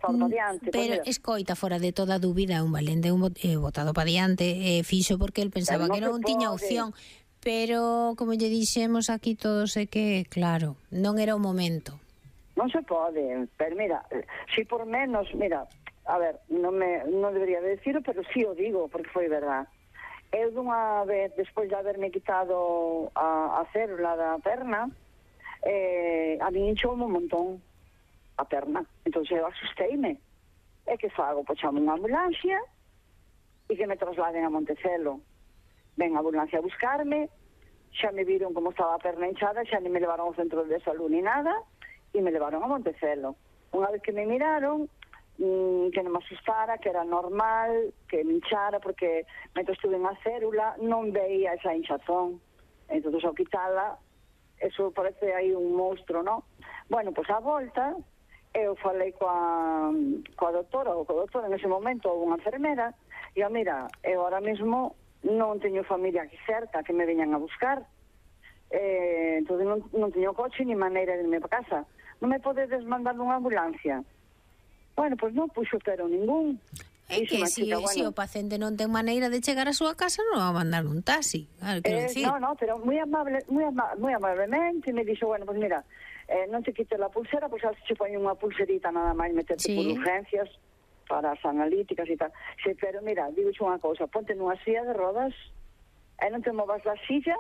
botado para diante. Pero escoita, fora de toda dúbida, un valente botado para diante, fixo porque el pensaba que non tiña opción. Pero, como lle dixemos aquí todos, é que, claro, non era o momento. Non se pode, pero mira, si por menos, mira, a ver, non debería decirlo, pero sí o digo, porque foi verdad. Eu dunha vez, despois de haberme quitado a célula da perna, a mí hinchoume un montón a perna, entón eu asusteime. E que fago? Pois chamo unha ambulancia e que me trasladen a Montecelo. Ven a ambulancia a buscarme, xa me viron como estaba a perna hinchada, xa ni me levaron ao centro de salud ni nada, e me levaron a Montecelo. Unha vez que me miraron, que non me asustara, que era normal, que me hinchara, porque mentre estuve na célula non veía esa hinchazón. Entón, ao quitala, eso parece aí un monstro, non? Bueno, pois a volta, eu falei coa doutora, ou coa doutora en ese momento, ou unha enfermera, e mira, eu ahora mesmo non teño familia aquí cerca que me veñan a buscar, entón non teño coche ni maneira de irme para casa. Non me podedes mandar unha ambulancia? Bueno, pois non puxo pero ningún. É que se o paciente non ten maneira de chegar a súa casa, non va a mandar un taxi. No, pero moi amablemente me dixo, bueno, pois mira, non te quites la pulsera, pois se pone unha pulserita nada máis meterte por urgencias para as analíticas e tal. Sí, pero mira, digo unha cousa, ponte nunha silla de rodas e non te movas da silla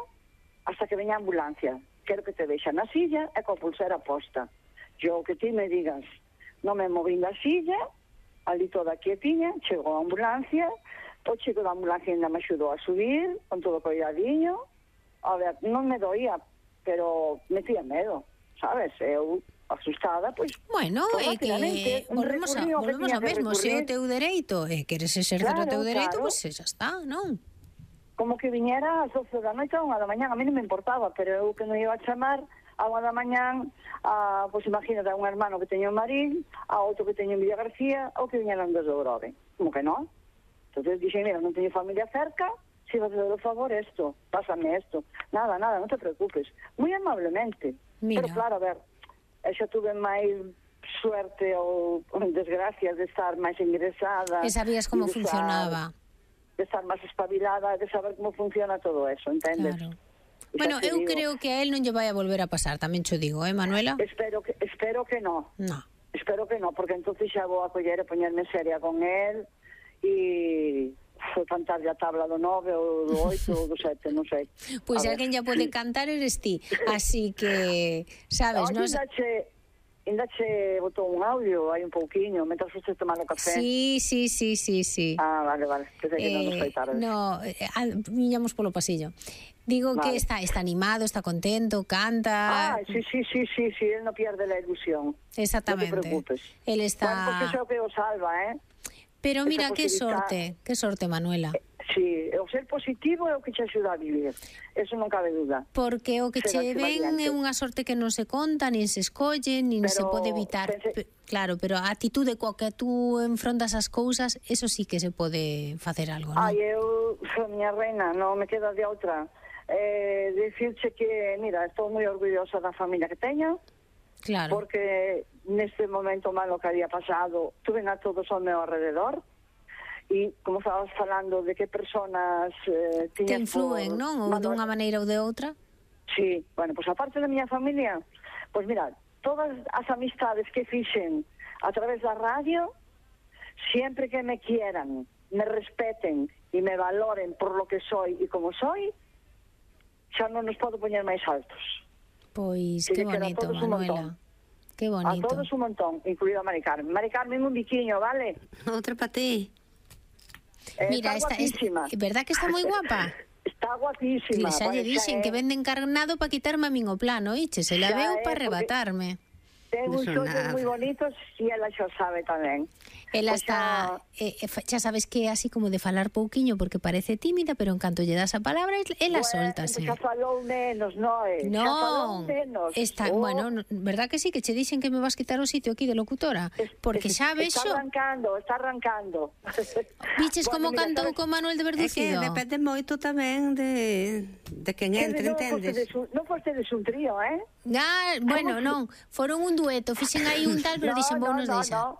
hasta que veña a ambulancia. Quero que te deixa na silla e coa pulsera posta. Yo que ti me digas, non me movín da silla, ali toda quietiña, chegou a ambulancia, o chico da ambulancia ainda me axudou a subir, con todo coidadiño. A ver, non me doía, pero me tía medo, sabes? Eu asustada, pois... Bueno, é que volvemos ao mesmo, se o teu dereito queres exercer o teu dereito, pois xa está, non? Como que viñera ás 12 da noite a 1 da mañán, a mí non me importaba, pero eu que non iba a chamar a 1 da mañán, pois imagínate, a un hermano que teño en Marín, a outro que teño en Villa García, ou que viñeran desde Grove. Como que non? Entón dixen, mira, non teño familia cerca, si vas a dar o favor esto, pásame esto. Nada, non te preocupes. Moi amablemente. Pero claro, a ver, xa tuve máis suerte ou desgracia de estar máis ingresada. E sabías como funcionaba. De estar máis espabilada, de saber como funciona todo eso, entendes? Claro. Bueno, eu creo que a él non lle vai a volver a pasar, tamén cho digo, Manuela? Espero que no. No. Espero que no, porque entonces xa vou a coller e poñerme seria con él e foi cantarlle a tabla do 9 ou do 8 ou do 7, non sei. Pois alguén ya pode cantar eres ti, así que, sabes, non... Ainda che botou un audio, hai un pouquiño, mentras usted tomando café. Sí. Vale, pensei que non nos foi tarde. No, viñamos polo pasillo. Digo que está animado, está contento, canta... Sí, él no pierde la ilusión. Exactamente. No te preocupes. Él está... Bueno, porque eso que o salva, Pero mira, que sorte, Manuela. Sí, o ser positivo é o que te axuda a vivir, eso non cabe duda. Porque o que che ven é unha sorte que non se conta, nin se escolle, nin se pode evitar. Claro, pero a actitude coa que tú enfrontas as cousas, eso sí que se pode facer algo, non? Eu, miña reina, non me queda de outra. Dicirche que, mira, estou moi orgullosa da familia que teño, claro, porque neste momento malo que había pasado, tuve a todos ao meu alrededor. E como estabas falando de que personas te influen, non? Ou dunha maneira ou de outra? Sí, bueno, pois aparte da miña familia, pois mira, todas as amistades que fixen a través da radio, siempre que me quieran, me respeten e me valoren por lo que soy e como soy, xa non nos podo poñer máis altos. Pois, que bonito, Manuela. Que bonito. A todos un montón, incluído a Mari Carmen. Mari Carmen, un biquiño, vale? Outra para ti. Mira, está guapísima. ¿Verdad que está moi guapa? Está guapísima. Xa lle dixen que vende encarnado para quitarme a min o plano, oíche, se la veu para arrebatarme. Ten uns ollos moi bonitos e ela xa sabe tamén. Ela está, xa sabes que é así como de falar pouquiño porque parece tímida, pero en canto lle das a palabra, ela soltase. Xa falou menos, non? Non, está, bueno, verdad que sí, que che dixen que me vas quitar o sitio aquí de locutora? Porque xa vexo... Está arrancando. Viches como cantou con Manuel de Verducido? É que depende moito tamén de quen entre, entendes? Non fostedes un trío, Bueno, non, foron un dueto, fixen aí un tal, pero dixen, vou nos deixar.